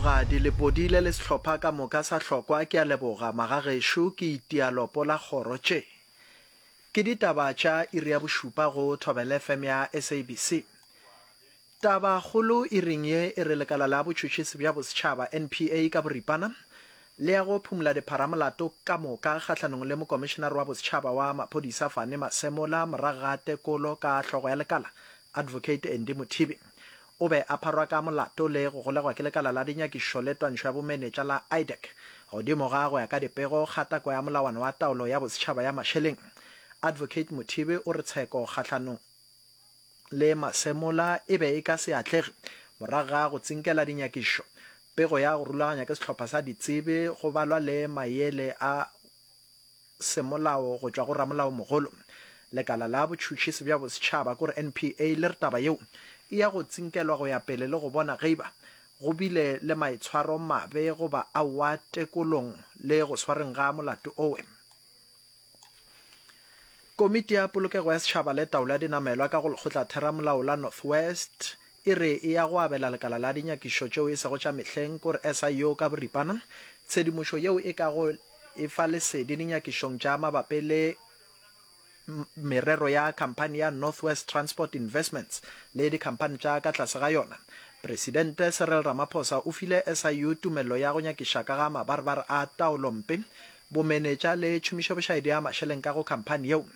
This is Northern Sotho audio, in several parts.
Mologadi, Lepodile le sehlopha ka moka sa Hlokwa ke a leboga magagešo ke itia lopo la kgoro tše. Ke ditaba tša iri ya bošupa go Thobela FM ya SABC. Taba kgolo iring ye e re lekala la botšhotšhisi bja bosetšhaba, NPA, ka boripana le ya go phumula dipharamolato ka moka kgahlanong le mokomišenare wa bosetšhaba wa maphodisa Fane Masemola morago ga tekolo ka hlogo ya lekala Advocate Andy Mothibi. O be a pharwa ka molato le go golegwa ke lekala la dinyakišišo le twantšho ya bomenetša la IDAC godimo ga go ya ka dipego kgatako ya molawana wa taolo ya bosetšhaba ya mašeleng. Advocate Mothibi o re tsheko kgahlanong le Masemola e be e ka se atlege morago ga go tsinkela dinyakišišo, pego ya go rulaganya ke sehlopha sa ditsebi go balwa le maele a semolao go tšwa go ramolaomogolo. Lekala la botšhutšhisi bja bosetšhaba kore NPA le re taba yeo e ya go tsinkelwa go ya pele le go bona ge eba go bile le maitshwaro mabe goba aowa tekolong le go swareng ga molato owe. Komiti ya Polokego ya Setšhaba le Taolo ya Dinamelwa ka go Lekgotlatheramolao la North West e re e ya go abela lekala la dinyakišišo tšeo e sego tša mehleng, kore SIU ka boripana, tshedimošo yeo e kago e fa lesedi dinyakišišong tša mabapi le merero ya khamphani ya North West Transport Investments le dikhamphani tša ka tlase ga yona. Presidente Cyril Ramaphosa o file SIU tumello ya go nyakiša ka ga mabarebare a taolompe bomenetša le tšhomišobošaedi ya mašeleng ka go khamphani yeo.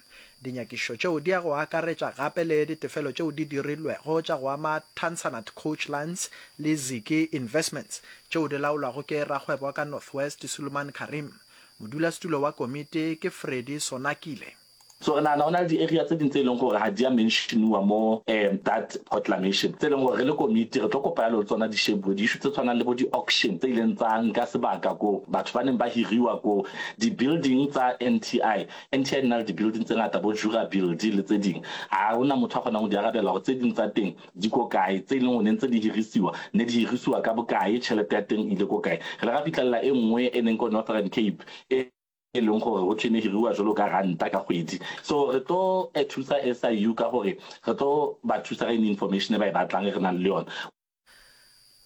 Dinyakišišo tšeo di ya go akaretša gape le ditefelo tšeo di dirilwego tša go ama Tansanat Coach Lines le Ziki Investments tšeo di laolwago ke rakgwebo wa ka North West Suleiman Carrim. Modulasetulo wa komiti ke Freddy Sonakile. So re nahana go na le di-area tse ding tse e leng gore ga di a mention-iwa mo that proclamation, tse e leng gore re le komiti re tlo kopa yalo le tsona di shebuwe. Di-issue tse tshwanang le bo di-auction tse ileng tsa nka sebaka ko, batho ba neng ba hiriwa ko, di-building tsa NTI, NTI di na le di-building tse ngata bo Jura Build le tse ding, ha ho na motho a kgonang ho di arabela hore tse ding tsa teng di ko kae, tse e leng gore ne ntse di hirisiwa ne di hirisiwa ka bokae, tjhelete ya teng e ile ko kae. Re ile ra fihlella e nngwe e neng ko Northern Cape e e leng gore ho thwe ne hiriwa jwalo ka ranta ka kgwedi. So re tlo thusa SIU ka gore re tlo ba thusa ka any information e ba e batlang e re nang le yona.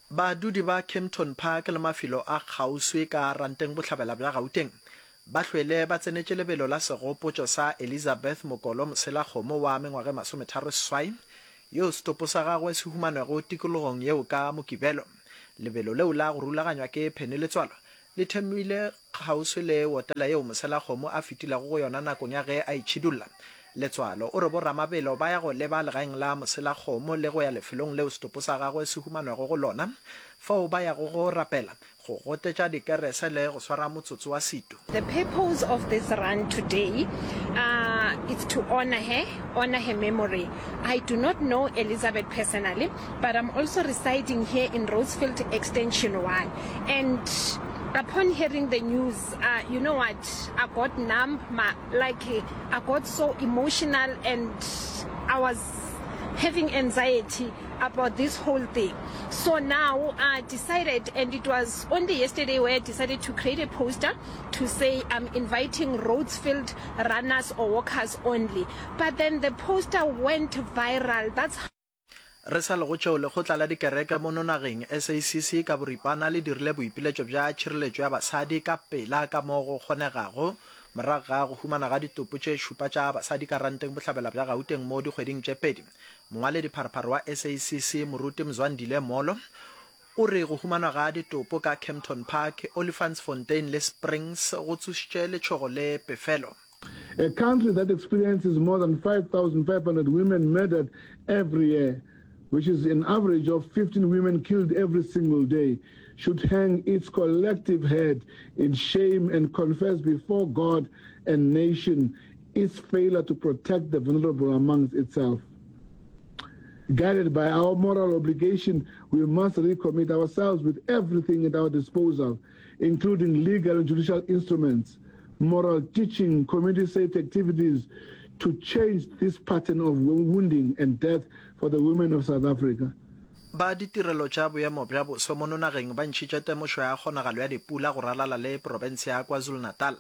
Badudi ba Kempton Park le mafelo a kgauswi ka Ranteng Bohlabela bja Gauteng ba hlwele ba tsenetše lebelo la segopotšo sa Elizabeth Mokolo Moselakgomo wa mengwaga e masometharoseswai yoo setopo sa gagwe se humanwego tikologong yeo ka Mokibelo. Lebelo leo la go rulaganywa ke Penny Letswalo Le thomile kgauswi le wotela yeo moselakgomo a fetilego go yona nakong ya ge a itšhidulla. Letswalo o re boramabelo ba ya go leba legaeng la moselakgomo le go ya lefelong leo setopo sa gagwe se humanwago go lona, fao ba yago go rapela, go gotetša dikerese le go swara motsotso wa setu. The purpose of this run today uh, is to honor her, honor her memory. I do not know Elizabeth personally, but I'm also residing here in Rosefield Extension 1. And upon hearing the news, uh, you know what, I got numb, my, like I got so emotional and I was having anxiety about this whole thing. So now I decided, and it was only yesterday where I decided to create a poster to say I'm inviting Rhodesfield runners or walkers only. But then the poster went viral. That's Re sa le go tšeo, Lekgotla la Dikereke mono nageng, SACC, ka boripana le dirile boipiletšo bja tšhireletšo ya basadi ka pela ka mo go kgonegago morago ga go humana ga ditopo tše šupa tša basadi ka Ranteng Bohlabela bja Gauteng mo dikgweding tše pedi. Mongwaledipharephare wa SACC, Moruti Mzwandile Molo, o re go humanwa ga ditopo ka Kempton Park, Olifantsfontein le Springs go tsošitše letšhogo le pefelo. A country that experiences more than 5,500 women murdered every year, which is an average of 15 women killed every single day, should hang its collective head in shame and confess before God and nation its failure to protect the vulnerable amongst itself. Guided by our moral obligation, we must recommit ourselves with everything at our disposal, including legal and judicial instruments, moral teaching, community safety activities, to change this pattern of wounding and death for the women of South Africa. Ba ditirelo tša boemo bja boso mono nageng ba ntšhitše temošo ya kgonagalo ya dipula go ralala le profense ya KwaZulu-Natal.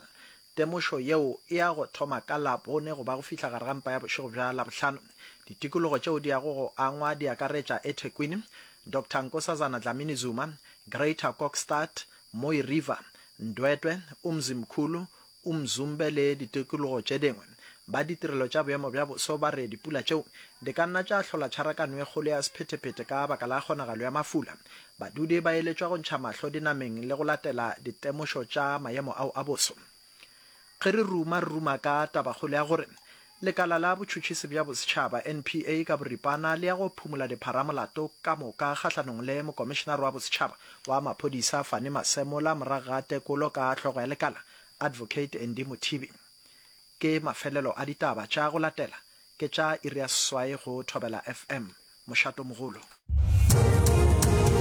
Temošo yeo e ya go thoma ka Labone go ba go fihla gare ga mpa ya bošego bja Labohlano. Ditikologo tšeo di yago go angwa di akaretša eThekwini, Doctor Nkosazana Dlamini Zuma, Greater Kokstad, Mooi River, Ndwedwe, Umzimkhulu, Umzumbe le ditikologo tše dingwe. Ba ditirelo tša boemo bja boso ba re dipula tšeo di ka nna tša hlola tšharakano e kgolo ya sephethephethe ka baka la kgonagalo ya mafula. Badudi ba eletšwa go ntšha mahlo dinameng le go latela ditemošo tša maemo ao a boso. Ge re ruma, re ruma ka tabakgolo ya gore Lekala la Botšhotšhisi bja Bosetšhaba, NPA, ka boripana le ya go phumola dipharamolato ka moka kgahlanong le Mokomišenare wa Bosetšhaba wa Maphodisa Fannie Masemola morago ga tekolo ka hlogo ya lekala, Advocate Andy Mothibi. Ke mafelelo a ditaba tša go latela ke tša iri ya seswai go Thobela FM, mošatomogolo.